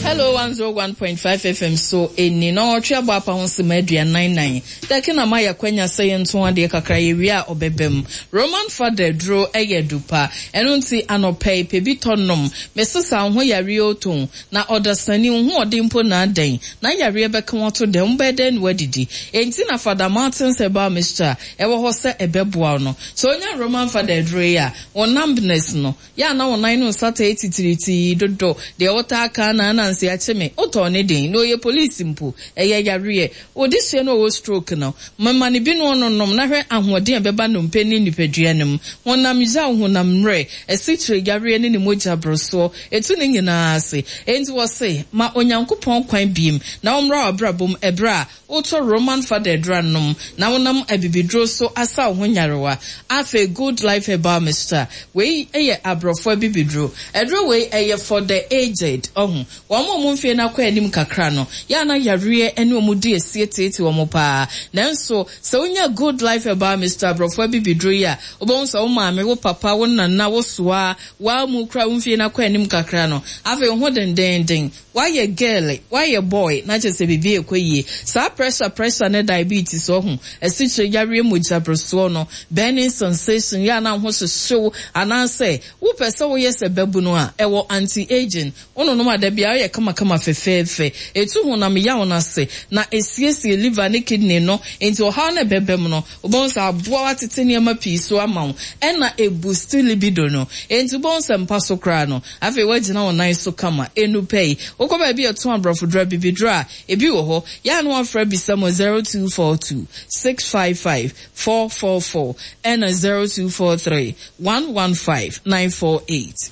Hello 101.5 FM so ɛni na ɔtwe abɔ apa ho sema 44. Dɛke na ma yɛakwanya sɛ yɛnto adeɛ kakra yɛwie a ɔbɛbam. Roman fada aduro yɛ adu pa ɛno nti anɔpa yi pɛ bi tɔ nom. Mesesa wo ho yareɛ oton na ɔdasani wo ho ɔden mpo na adɛn na yareɛ bɛka wo ato dɛn wobɛyɛ dɛn na woadidi. Enti na Fada Martins Herbal Mixture ɛwɔ hɔ sɛ ɛbɛboa wo no. Sɛ wonya Roman fada aduro yi a wo numbness no Yɛ a na wo nan no nsa taa titiritii dodo, deɛ wotaa ka na ananse akye me, wotɔɔ ne den, na ɔyɛ police mpo, ɛyɛ yareɛ. Wo dehyeɛ no ɔwɔ stroke no, mema no bi na ɔnonom na hwɛ ahoɔden a ɛbɛba nnompe ne nipadua no mu. Honam yaw, honam mmerɛ, asikyire yareɛ ne ne mogya borosoɔ, ɛtu ne nyinaa ase. Enti wɔse, ma Onyankopɔn kwan biem na ɔmmra w'abrabɔ mu ɛberɛ a Wotɔ Roman fada aduru anom na wonam abibiduro so asa wo ho nyarewa. Afei Good Life Herbal Mixture, wei yɛ abrɔfo abibiduro. Aduro wei ɛyɛ for the aged, ɔho. Wɔn a wɔn mfeɛ no akɔ anim kakra no, yɛ a na yareɛ ne wɔn di asie teetee wɔn paa. Nanso sɛ wonya Good Life Herbal Mixture abrɔfo abibiduro yi a, wobɛhu sɛ wo maame, wo papa, wo nana, wo soa, woa mu koraa wo mfeɛ no akɔ anim kakra no, afei wo ho dendeenden. Wayɛ girl, wayɛ boy na kyerɛ sɛ biribi rekɔ yie. Saa pressure pressure ne diabetes ɔho, asikyire yareɛ mogya borosoɔ no, burning sensation, yɛ a na wo ho hyehye wo anaasɛ wopɛ sɛ woyɛ sɛ babunu a, ɛwɔ anti aging. Wononom a da biara woyɛ kamakama fɛfɛɛfɛ. Ɛtu honam yaw no ase na ɛsiesie liver ne kidney no nti ɔhaw no a ɛbɛba mu no, Wobɛhu sɛ aboa wo atete nneɛma pii so ama wo, ɛna ɛbusti libido no. Enti wobɛhu sɛ mpa so koraa no, afei woagyina wo nan so kama. Ɛnnu pɛ yi, wokɔ baabi a yɛtɔn aborɔfoduro, abibiduro a, ebi wɔ hɔ. Yɛ a na woafrɛ abisa mu 0242 655 444 ɛna 0243 115 948.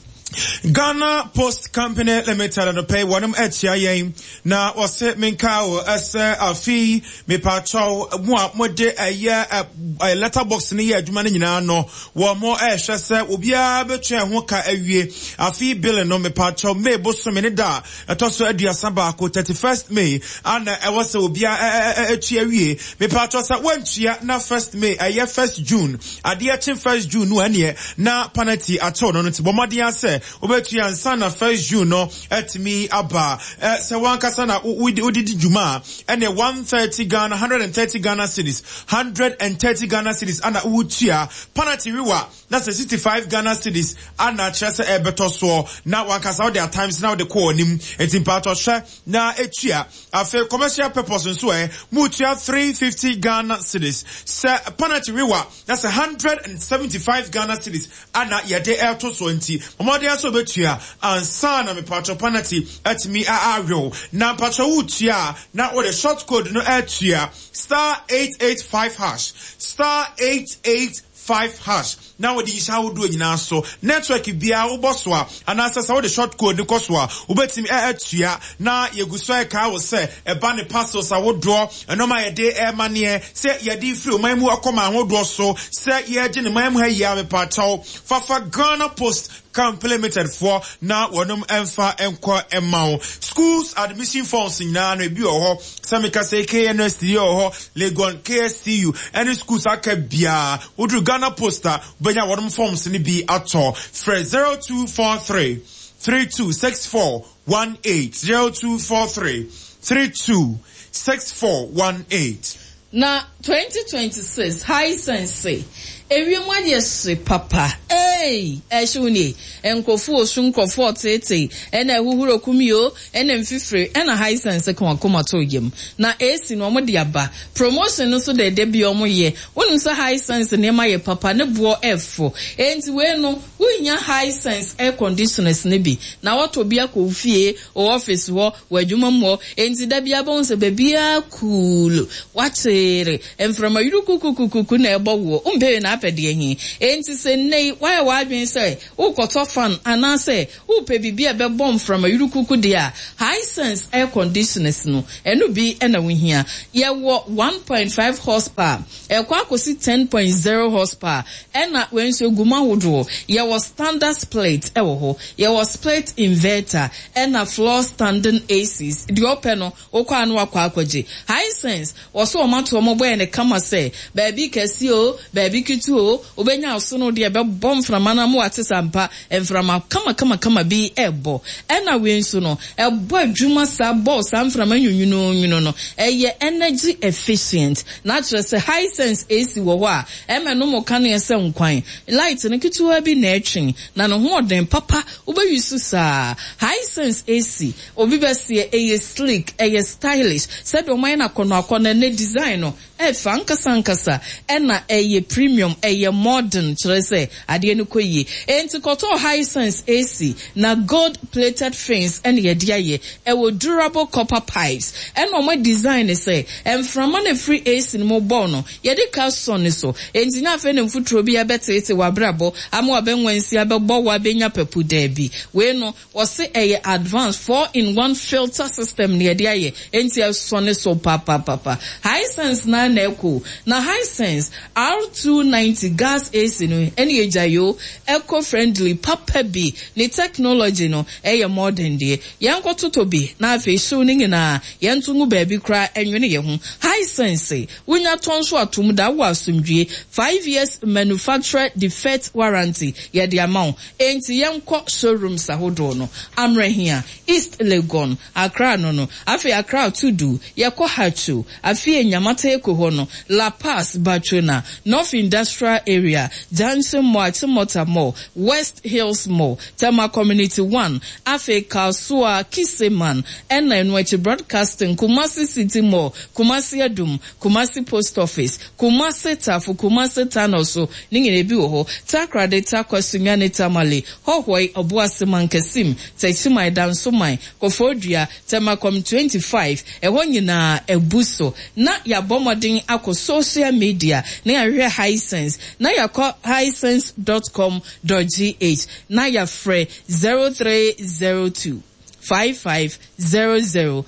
Ghana Post Company Limited anɔpa yi wɔnom akyia yɛn na wɔse menka o ɛsɛ afe yi mepaakyɛw mo a mode ɛyɛ letter box no yɛ adwuma no nyinaa no wɔn mo ɛhwɛ sɛ obiara bɛtua ɛho ka awie afe yi bill no mepaakyɛw May bosome ne da a ɛtɔ so 31 31st May ana ɛwɔ sɛ obiara ɛtua awie mepaakyɛw sɛ wɔntua na 1st May ɛyɛ 1st June Adeɛ kye first June no ɛneɛ na panati atew no no nti bɔ mmɔden ara sɛ wobɛtua ansa na first June no atumi aba. Sɛ wankasa na wode di dwuma a ɛneɛ 130 Ghana, 130 Ghana cedis, 130 Ghana cedis ana wotua. Panati wewa na sɛ 65 Ghana cedis ana kyerɛ sɛ ɛbɛtɔ soɔ na wankasa wode atimes na wode kɔ anim. Nti mpaatɔ hwɛ na tua. Afei commercial purpose nso ɛ, motua 350 Ghana cedis. Sɛ panakye wewa na sɛ 175 Ghana cedis ana yɛde ɛreto soɔ nti, bɔ mmɔden ara sɛ wobɛtua ansa na mepatwɔ panakye atumi awew. Na mpatwɔ wotua a, na wode short code no atua, star 885 hash, star 885 hash. Na wɔde nhyɛ ahodoɔ nyinaa so. Network biara wobɔ so a, anaasɛ sɛ wode short code no kɔ so a, wobɛtumi atua. Na yɛgu so rekae wo sɛ, ɛba ne parcels ahodoɔ, nnoɔma a yɛde rema neɛ, sɛ yɛde refiri ɔman mu akɔ man ahodoɔ so, sɛ yɛregye ne man mu ha yi ara, mepaakyɛw, fa fa Ghana Post Company Limited foɔ na wɔnom mfa nkɔ mma wo. Schools admission forms nyinaa no, ebi wɔ hɔ. Sɛ meka sɛ KNUST wɔ hɔ, Legon, KSTU, ɛne schools aka biara. Woduru Ghana Post a, wobɛnya wɔnom forms no bi atɔ. Frɛ 0243 3264 18, 0243 3264 18. Na 2026 Hisense se ewiem ayɛ hye papa eei ɛhyew nie nkurɔfo osu nkurɔfo ɔteetee ɛna ahuhuro kum yoo ɛna mfifire ɛna Hisense ka wakoma to yam na AC no ɔmo de aba promotion no nso dɛɛdɛ bi ɔmo yɛ wonim sɛ Hisense nneɛma yɛ papa ne boɔ ɛfo enti wei no wonya Hisense air conditioners no bi na watɔ bi akɔ wo fie Wɔ office hɔ, wɔ adwuma mu hɔ, enti da biara bɛhu sɛ baabiara cool, wakyere, mframa yurukukukukuku na ɛbɔ woɔ, wompɛ wei na apɛ deɛ he? Enti sɛ nnɛ yi woayɛ w'adwene sɛ worekɔtɔ fan anaasɛ worepɛ biribi a ɛbɛbɔ mframa yurukuku deɛ a, Hisense air conditioners no, ɛno bi na wohia. Yɛwɔ 1.5 horsepower, ɛkɔ akɔsi 10.0 horsepower, ɛna wei nso ɛgu mu ahodoɔ. Yɛwɔ standard split wɔ hɔ, Yɛwɔ split inverter ɛna floor standing ACs, deɛ ɔpɛ no wokɔ a na wakɔ akɔgye. Hisense, wɔse wɔn ato wɔn bo ayɛ no kama sɛ baabi kɛseɛ oo, baabi ketewa. Wobɛtutu oo, wobɛnya asono deɛ ɛbɛbɔ mframa no ama woate sɛ ampa mframa kamakamakama bi rebɔ. Ɛna wei nso no, ɛbɔ adwuma saa bɔ saa mframa nwunwununwunu no. Ɛyɛ energy efficient. Na kyerɛ sɛ Hisense AC wɔ hɔ a, ɛma ɛnom kanea sɛ nkwan. Light no ketewa bi na ɛtwe, na ne ho ɔden papa. Wobɛ use saa. Hisense AC, obi bɛseɛ, ɛyɛ sleek, ɛyɛ stylish. Sɛdeɛ wɔayɛ no akɔnnɔakɔnnɔ, ɛnnɛ design no, Ɛfa ankasa ankasa ɛna ɛyɛ premium, ɛyɛ modern kyerɛ sɛ adeɛ no kɔ yie. Enti kɔtɔɔ Hisense AC na gold plated fins ɛna yɛde ayɛ. Ɛwɔ durable copper pipes ɛna wɔn adesign no sɛ mframa no ɛfiri AC no mu bɔ no yɛde ka sɔ no so. Enti nyɛ afei na mfuturo bi ɛbɛteete w'abrabɔ ama w'abɛnwansi abɛbɔ wo abɛnya papu daabi. Wei no Wɔse ɛyɛ advance 4 in 1 filter system na yɛde ayɛ enti ɛsɔne so papapapa. Hisense no ara na ɛkɔ o. Na Hisense R290 gas AC no ɛne agyae o, eco friendly papa bi, ne technology no ɛyɛ modern deɛ. Yɛnkɔ totɔ bi na afei hyew no nyinaa yɛnto ngu baabi koraa ɛnwene yɛn ho. Hisense, wonya tɔ nso a tom da wowɔ asomdwie. 5 years manufacturer defect warranty yɛde ama wo. Enti yɛnkɔ showrooms ahodoɔ no, Amrahia, East Legon, Accra no no, afei Accra Tudu, yɛkɔ Haatso, afei Nyamata-Eko hɔ no, La Paz, Batwona, North Industrial Area, Junction Mall, Achimota Mall, West Hills Mall, Tema Community 1, afei Kasoa, Kiseman, ɛna ɛno akyi Broadcasting, Kumasi City Mall, Kumasi Adum, Kumasi Post Office, Kumasi Tafo, Kumasi Tunnel so, ne nyinaa bi wɔ hɔ. Takoradi, Tarkwa, Sunyani, Tamale, Hohoe, Obuasi, Mankasim, Techiman, Dansoman, Koforidua, Tema Com 25, ɛhɔ nyinaa abu so. Na yɛabɔ mmɔden akɔ social media na yɛahwehwɛ Hisense, na yɛakɔ hisense dot com dot gh na yɛafrɛ 0302 5500 00,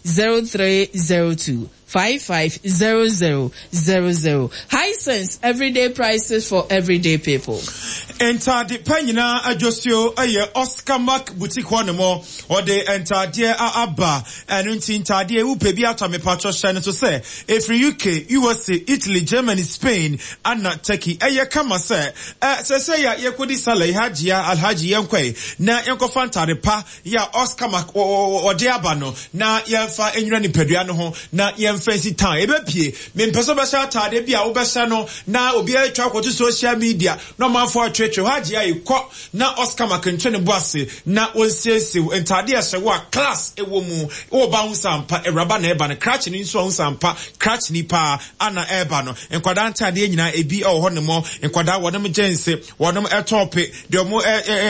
0302 550000. Hisense, everyday prices for everyday people. Ntade pa nyinaa adwosuo yɛ Oscar Mark Boutique hɔ nom. Ɔde ntadeɛ a aba. Ɛno nti ntadeɛ wopɛ bi atɔ mepatwɔ hyɛ no so sɛ ɛfiri UK, USA, Italy, Germany, Spain ana Turkey. Ɛyɛ kama sɛ sɛsɛi a yɛkɔdi Sallah yi, Hajia, Alhaji yɛnkɔe na yɛnkɔfa ntade pa yɛ a Oscar Mark ɔde aba no na yɛmfa nwura nipadua no ho na yɛmfa nsi town. Ɛbɛpie. Mempɛ sɛ wobɛhyɛ ataadeɛ bi a wobɛhyɛ no na obiara atwa akɔto social media na ɔmanfoɔ atweetwee hɔ agye ayi kɔ na Oscar Mark nto ne bo ase na ɔnsiesie wo ntaadeɛ ɛhyɛ wo a class ɛwɔ mu. Wo ba ho sampa awuraba na ɛba no krakye no nso ho sampa krakye ni paa ana ɛba no. Nkwadaa ntaadeɛ nyinaa ebi ɛwɔ hɔ nom. Nkwadaa wɔnom jeans, wɔnom ɛtɔɔpe deɛ wɔn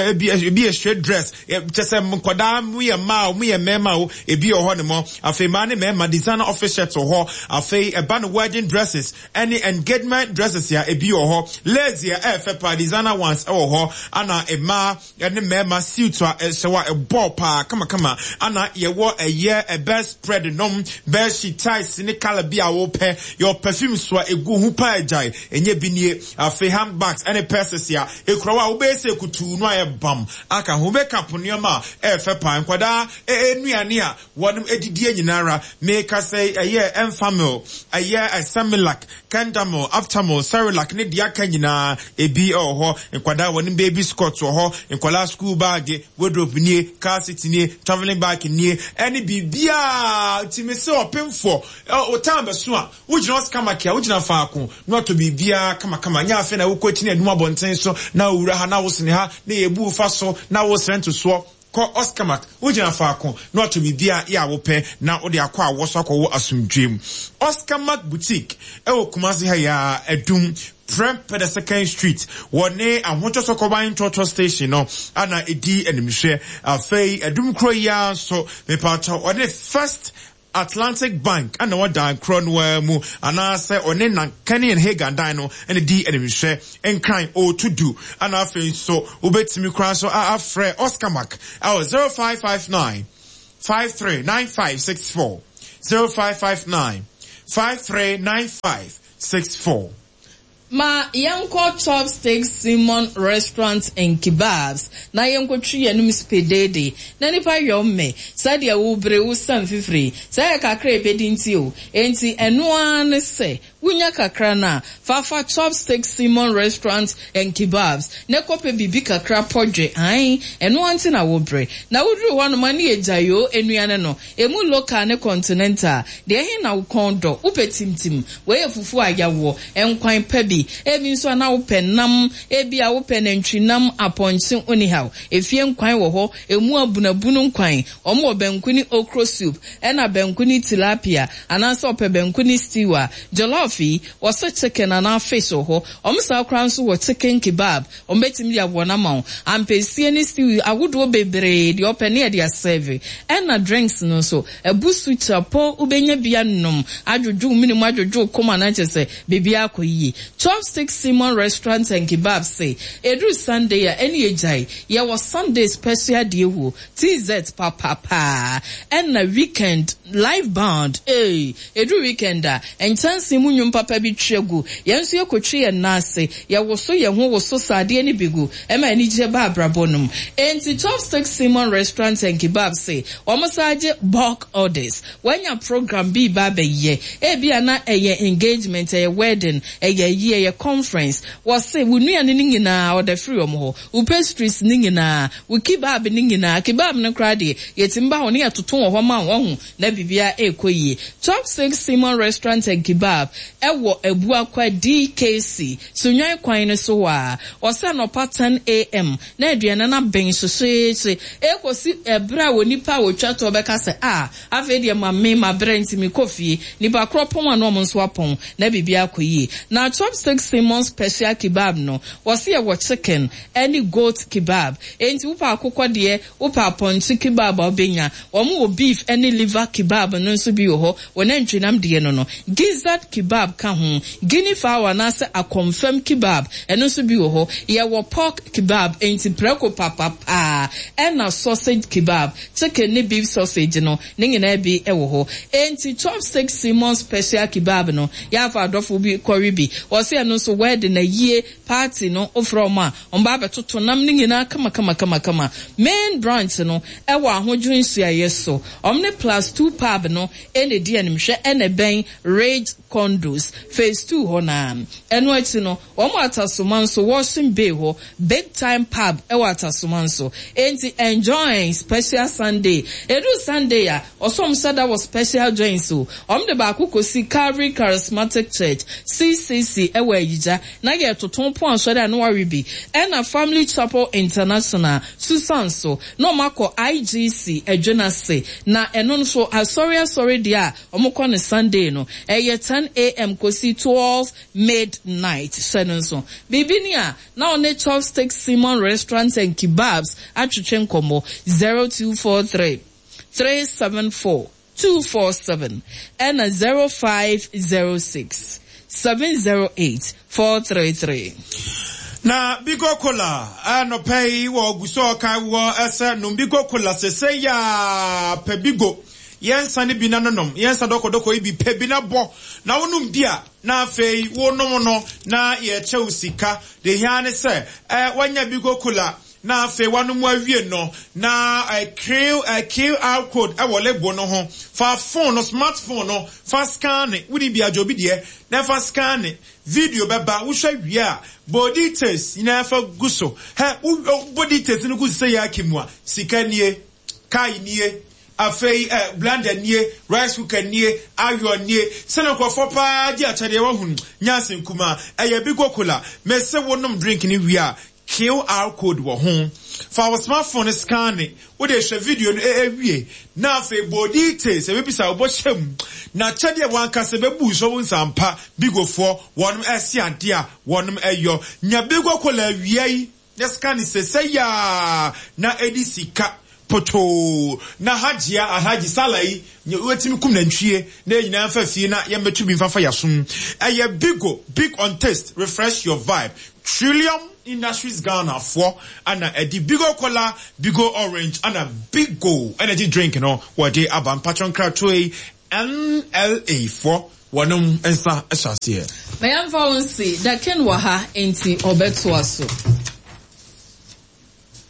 ebi ebi yɛ straight dress kyɛ sɛ nkwadaa mu yɛ mmaa o mu yɛ mmarima o ebi wɔ hɔ nom. Afei mmaa ne mmarima designer office shirt wɔ hɔ. Afei ɛba no wedding dresses ɛne engagement dresses a ebi wɔ hɔ. Lace a ɛyɛ fɛ paa designer ones ɛwɔ hɔ. Ana mmaa ɛne mmarima suit a ɛhyɛ hɔ a ɛbɔ paa kamakama. Ana yɛwɔ ɛyɛ bed spread nom, bed sheet ties ne colour bi a wɔpɛ. Yɛwɔ perfume so a egu ho paa agyae ɛnyɛ bi nie. Afei handbags ɛne purses a ekura hɔ a wobɛyɛ sɛ kutuu no ayɛ bam aka ho. Makeup nneɛma a ɛyɛ fɛ paa. Nkwadaa nnuane a wɔnom adidie nyinara. Meka sɛ ɛyɛ Enfamil, ɛyɛ Semilac, Kendamil, Aptamil, Cerelac ne deɛ aka nyinaa ebi wɔ hɔ. Nkwadaa wɔnom baby scot wɔ hɔ. Nkwadaa school bag, wardrobe nie, car seat nie, travelling bag nie, ɛne biribiara. Nti me sɛ ɔpemfoɔ, ɔtan bɛso a, wogyina Oscar Mark a, wogyina faako na watɔ biribiara kamakama. Nyɛ afei na wokɔ akyi na adum abɔnten so na owura ha na wosene ha na yɛbu fa so na wosrɛ ntosoɔ. Kɔ Oscar Mark, wogyina faako na watɔ biribiara yɛ a wopɛ na wode akɔ a wɔso akɔwɔ asomdwoe mu. Oscar Mark Boutique ɛwɔ Kumasi ha yi ara, Adum, Prempeh the Second Street, wɔne Ahotɔ Sɔkɔban Trɔtrɔ Station no ana ɛdi animhwɛ. Afei Adum kuro yi ara nso, mepatɔ ɔne First Atlantic Bank na ɛwɔ dan korɔ no ara mu anaasɛ ɔne Nankani and Hagan dan no na ɛdi animhwɛ. Nkran Otudu ana afei nso wobɛtumi koraa nso afrɛ Oscar Mark ɛwɔ 0559 539564 0559 539564. Ma yɛnkɔ Chopsticks Simon Restaurant and Kebabs na yɛnkɔtwi yɛn anom spedeede na nnipa yɔ mmɛ sɛdeɛ wo bere wo sa mfifire. Sɛ ɛyɛ kakra a ɛbɛdi nti o. Enti ɛno ara ne sɛ. Wunya kakra no a, fa fa Chopstick Simon Restaurant and Kebabs na kɔpɛ biribi kakra pɔdwe, ae, ɛno ara nti na wobrɛ. Na woduru hɔnom a, ne yɛ gyayoo nnuane no, emu local ne continental, deɛ ɛhe na wo kɔn dɔ? Wopɛ timtim? Wei yɛ fufuo a yɛawɔ, nkwan pa bi, ebi nso a na wopɛ nam, ebia wopɛ nantwinam, apɔnkye, onihaw, efie nkwan wɔ hɔ, emu abunabunu nkwan, Wɔn wɔ banku ne okro soup ɛna banku ne tilapia anaasɛ ɔpɛ banku ne stew a, jollof yi, wɔse chicken anaa fish wɔ hɔ. Wɔn saa koraa nso wɔ chicken kebab, wɔn bɛtumi de aboa no ama wo. Ampesie ne stew ahodoɔ bebree, deɛ ɔpɛ ne yɛde asɛve. Ɛna drinks no nso, abusu, kyapɔ, wobɛnya bi anom, adwodwo wo mene mu, adwodwo wo koma na kyerɛ sɛ biribiara akɔ yie. Chopstick Simon Restaurant and Kebab se, ɛduru Sunday a, ɛne yɛgyae. Yɛwɔ Sunday special deɛ huo. TZ papa paa ɛna weekend live band eii ɛduru weekend a nkyɛnsee mu nwom papa bi twa gu yɛn nso yɛkɔtwi yɛn nan ase yɛwoso yɛn ho woso sradeɛ no bi gu ɛma anigyeɛ ba abrabɔ no mu enti Chopstick Simon Restaurant and Kebab se wɔn san gye bulk orders wanya program bi reba abɛyɛ ebia na ɛyɛ engagement ɛyɛ wedding ɛyɛ ayie ɛyɛ conference wɔse wo nnuane no nyinaa ɔda firi wɔn hɔ Wo pastries no nyinaa, wo kebab no nyinaa, kebab no koraa deɛ, yɛtumi ba hɔ na yɛtoto wɔ hɔ ma wo, wahu, na biribiara rekɔ yie. Chopstick Simon Restaurant and Kebab wɔ Abuakwa DKC, Sunnwan kwan no so hɔ ara. Wɔsɛ anɔpa 10 AM na aduane no aben hyehyeehye ɛrekɔsi ɛberɛ a onipa a ɔtwa toɔ bɛka sɛ, Ah, Afei deɛ ma me mabrɛ nti mekɔ fie. Nipa korɔ pɔn a na ɔmo nso apɔn na biribiara akɔ yie. Na Chopstick Simmons Special Kebab no, wɔse yɛwɔ chicken ɛne goat kebab. Enti wopɛ akokɔ deɛ, wopɛ apɔnkye kebab a wobɛnya. Wɔn wɔ beef ɛne liver kebab no nso bi wɔ hɔ, wɔ nantwinam deɛ no no. Gizzard kebab ka ho. Guinea fowl anaasɛ akɔmfam kebab, ɛno nso bi wɔ hɔ. Yɛwɔ pork kebab, enti prɛko papapaa, ɛna sausage kebab. Chicken ne beef sausage no, ne nyinaa bi wɔ hɔ. Enti Chopstick Simon Special Kebab no, yɛafa adɔfo bi kɔwe bi. Wɔse ɛno nso wedding, ayie, party no, wofrɛ wɔn a, wɔba abɛtoto nam no nyinaa kamakamakamakama. Main branch no wɔ Ahodwo nhyiaeɛ so. Wɔn ne Plus Two Pub no na ɛdi animhwɛ ɛna ɛbɛn Ridge Condos, Phase Two hɔ no ara. Ɛno akyi no, Wɔn wɔ Atasoma nso, Washing Bay hɔ, Big Time Pub wɔ Atasoma nso. Enti enjoy special Sunday. Ɛduru Sunday a, ɔsɛ wɔn hyɛ da wɔ special joints o. Wɔn de baako kɔsi Calvary Charismatic Church, CCC, wɔ Ayigya, na yɛretoto pon asɔre a na wɔawe bi. Ɛna Family Chapel International, Susan so, na wɔn akɔ IGC, Adwenase. Na ɛno nso, asɔre asɔre deɛ a wɔkɔ no Sunday no, ɛyɛ 10 AM kɔsi 12 Midnight, hyɛ no nso. Biribi ni a, na ɔne Chopstick Simon Restaurant and Kebabs atwetwe nkɔmmɔ, 0243 374 247 ɛna 0506 708 433. Na Bigo Cola anɔpa yi wɔ gu so ɔka wɔ sɛ nom Bigo Cola sesei aa pɛ Bigo yɛ nsa no bi na nonom yɛ nsa dɔkɔdɔkɔ yi bi pɛ bi na bɔ na wonom bi a na afei wonom no na yɛkyɛ wo sika. Deɛ ehia ara ne sɛ eh, woanya Bigo Cola na afei woanom awie no na eh, QR code wɔ label no ho. Fa phone no, smart phone no, fa scanne. Wonni bi a, gye obi deɛ na fa scanne. Video bɛba, wohwɛ wie a, bɔ details nyinaa fa gu so. Hɛ, wobɔ details no gu so sɛ yɛ akim a, sika nie, car nie, Afei eh, blender nie, rice cooker nie, iron nie, sɛnea nkurɔfoɔ paa gye akyɛdeɛ wahunu, nyɛ asɛm kumaa, ɛyɛ Bigo Cola, mese wo nom drink no wie a, QR code wɔ ho, fa wo smartphone no scanne, wode hwɛ video no wie, na afei bɔ details, ɛbɛbisa wo bɔ hyɛ mu, na akyɛdeɛ wankasa bɛbu so wo nsa ampa, Bigofoɔ, wɔnom ɛse adeɛ a wɔnom ɛyɔ, nya Bigo Cola awia yi. Na sika ne sesei aa na edi sika potoo na hajia alhaji sala yi nyɛ wetumi kum nantwie na yɛn nyinaa nfa fie na yɛn bɛto bi nfa fa yasom ɛyɛ bigo big on taste refresh your vibe trillium industries Ghana foɔ ana ɛdi bigo cola bigo orange ana bigo energy drink no wɔde aba mpatwɔ nkratoɔ yi NLA foɔ Wɔnom nsa hyɛ aseɛ. Ma yɛmfa wo nsi, The King wɔ ha, enti ɔbɛtoa so.